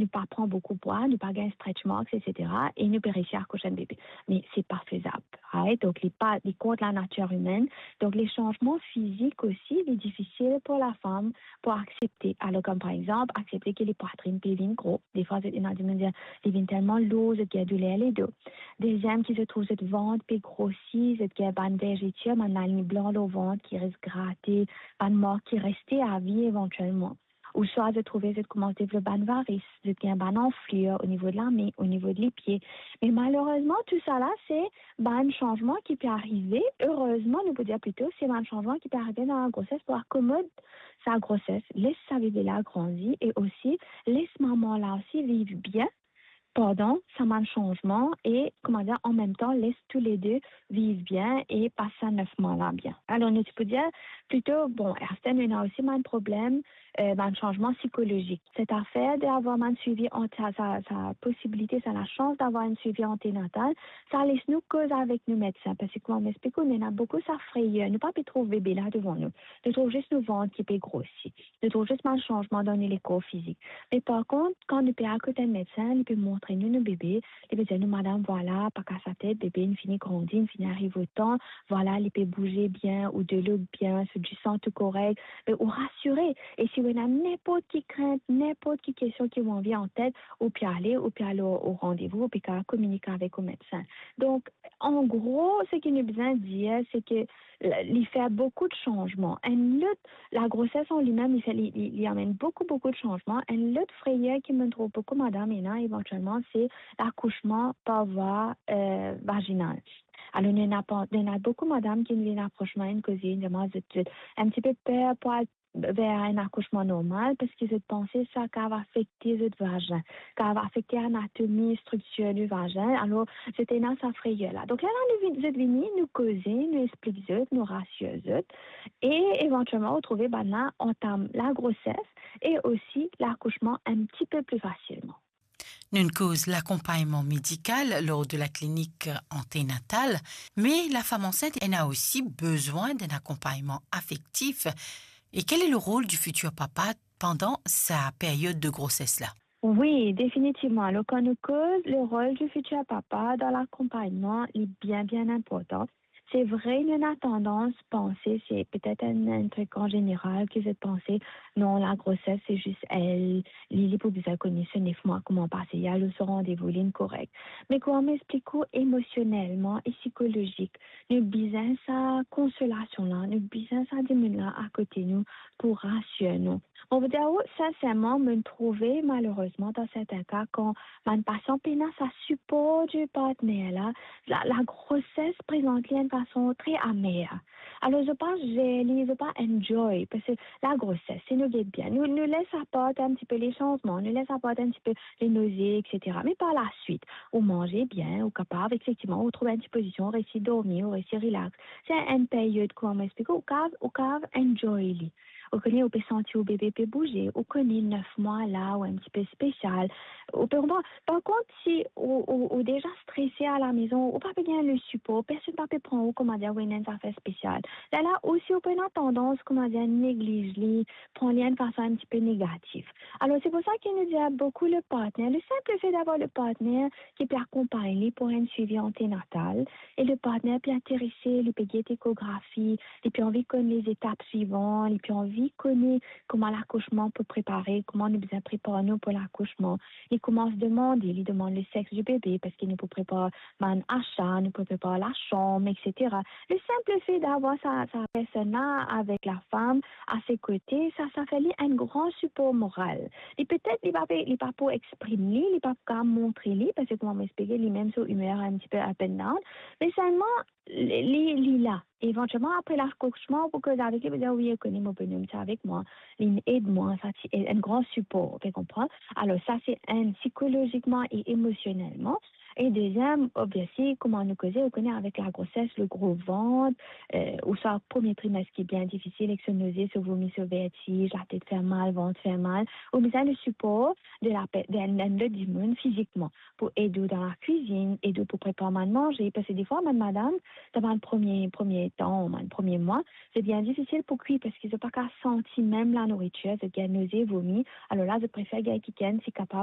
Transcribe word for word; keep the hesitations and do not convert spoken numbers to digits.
nou pa pran boukou pwa, nou pa gagn stretch marks, et cetera, e nou pe resi akouch enn bebe. Me se pa fezab, right? Donk, li pa, li kont lanatir imenn. Donk, le sanzman fizik osi, li difisil pou lafam pou aksepte. Alor, kom par exanp, aksepte ki li pwatrinn pe vinn gro. Defwa, zot ena dimoun dir, li vinn telman lour, zot gagn douler ledo. Deziem, ki zot trouv zot vant pe grosi, zot gagn bann vergeture, bann laliny blan lor vant ki res grate, bann mark ki reste avi evantielman. Ouswa zot trouve zot koumans devlop bann varis, zot gagn bann anflir o nivo de lame, o nivo de lipie. Me malerezman, tou sala, se bann sanzman ki pe arive. Erezman, nou pou dir plito, se bann sanzman ki pe arive dan lagroses pou akomod sa groses, les sa bebe la grandi e osi les mama la osi viv bien pandan sa bann sanzman e, kouma dir, an mem tan, les toule de viv bien e pas sa nef mwa la bien. Alor, nou ti pou dir plito, bon, aster nou ena osi bann problem, eh, bann sanzman sikolozik. Set afer de avoir bann swivi ant-, sa, sa, sa posibilite, sa lasans d'avoir enn swivi antenatal, sa les nou koz avek nou medsin, parski kouma mo explik ou, nou ena boukou sa freyer, nou pa pe trouv bebe la devan nou. Nou trouv zis nou vant ki pe grosi. Nou trouv zis bann sanzman dan nou lekor fizik. Me par kont, kan nou pe al kot enn medsin, li pe montre nou nou bebe, li pe dir nou, "Madam, vwala, pa kas latet, bebe inn fini grandi, inn fini ariv otan, vwala, li pe bouze bien, ou delo bien, so disan tou korek," me ou rasire. E si ou ena ninport ki krint, ninport ki kestion ki ou anvi antet, ou pe ale, ou pe al o, o randevou, ou pe kapav kominike avek ou medsin. Donk, an gro, seki nou bizin dir, se ke li fer boukou de sanzman. Enn lot, lagroses an limem, li fer, li, li, li amenn boukou, boukou de sanzman. Enn lot freyer ki mo trouv boukou madam ena evantielman, se lakousman par vwa, eh, vazinal. Alor, nou ena pa-, nou ena boukou madam ki vinn apros mwa, inn koze, inn dir mwa zot, zot enn tipe per pou al ver enn akousman normal, parski zot panse sa kapav afekte zot vazin, kapav afekte anatomi, striktir di vazin. Alor, zot ena sa freyer la. Donk, lerla nou vin-, zot vini, nou koze, nou explik zot, nou rasir zot, e evantielman, ou trouve bannla antam lagroses e osi lakousman enn tipe pli fasilman. Nou'nn koz lakonpagnman medikal lor de la klinik antenatal, me lafam ansint ena osi bezwin d'enn akonpagnman afektif. E quel est le rôle du futur papa pendant sa période de grossesse-là ? Wi, definitivman. Alor, kan nou koz le rol di fitir papa dan lakonpagnman, li bien, bien inportan. Se vre, nou ena tandans panse se petet enn, enn trik an zeneral, ki zot panse, non, lagroses, se zis el, li, li pou bizin kone so nef mwa kouma pase, li al lor so randevou, linn korek. Me kouma mo explik ou, emosionelman e sikolozik, nou bizin sa konsolasion la, nou bizin sa dimoun la akote nou pou rasir nou. Mo pou dir ou, sinserman, mo trouve, malerezman, dan sertin ka, kan bann pasian pena sa sipor di partner la, la, lagroses prezant li enn fason tre amer. Alor, zot pa zer li, zot pa enjoy, parski lagroses, si nou get bien, nou, nou les apart enn tipe le sanzman, nou les apart enn tipe le noze, et cetera. Me par laswit, ou manze bien, ou kapav, efektivman, ou trouv enn ti pozision, ou resi dormi, ou resi relax. Se enn period, kouma mo explik ou, ou kapav, ou kapav enjoy li. Ou kone, ou pe santi ou bebe pe bouze, ou kone nef mwa la, ou enn tipe spesial. Ou pe konpran? Par kont, si ou, ou, ou deza strese alamezon, ou pa pe gagn le sipor, personn pa pe pran ou, kouma dir, ou ena enn zafer spesial. Lerla osi, ou pe ena tandans, kouma dir, negliz li, pran li enn fason enn tipe negatif. Alor, se pou sa ki nou dir boukou le partner, le simple fait d'avoir le partner ki pe akonpagn li pou enn swivi antenatal, e le partner pe interese, li pe get ekografi, li pe anvi konn lezetap swivan, li pe anvi kone kouma lakousman pou prepare, kouma nou bizin prepar nou pou lakousman. Li koumans demande, li demann le sex di bebe, parski nou pou prepar bann asa, nou pou prepar lasanm, et cetera. Le simple fait d'avoir sa, sa personn la avek lafam a se kote, sa, sa fer li enn gran sipor moral. Li petet, li pa pe, li pa pou exprim li, li pa pou kapav montre li, parski kouma mo explike, limem so imer enn tipe up and down, me selman, li, li, li la. Evantielman, apre lakousman, ou pou koz avek li, pou dir, "Wi, ou kone, mo bonom ti avek mwa, li ed mwa, sa ti enn gran sipor," ou pe konpran? Alor, sa se enn, sikolozikman e emosionelman. E deziem, obviously, kouma nou koze, ou kone, avek lagroses, le gro vant, eh, ouswa premie trimes ki bien difisil, ek so noze, so vomi, so vertiz, latet fer mal, vant fer mal, ou bizin le sipor de la pe-, de enn, enn lot dimoun fizikman, pou ed ou dan lakwizinn, ed ou pou prepar bann manze, parski defwa, bann madam, dan bann premie, premie tan, bann premie mwa, se bien difisil pou kwi, parski zot pa kapav santi mem lanouritir, zot gagn noze, vomi, alor la, zot prefer gagn kikenn, si kapav,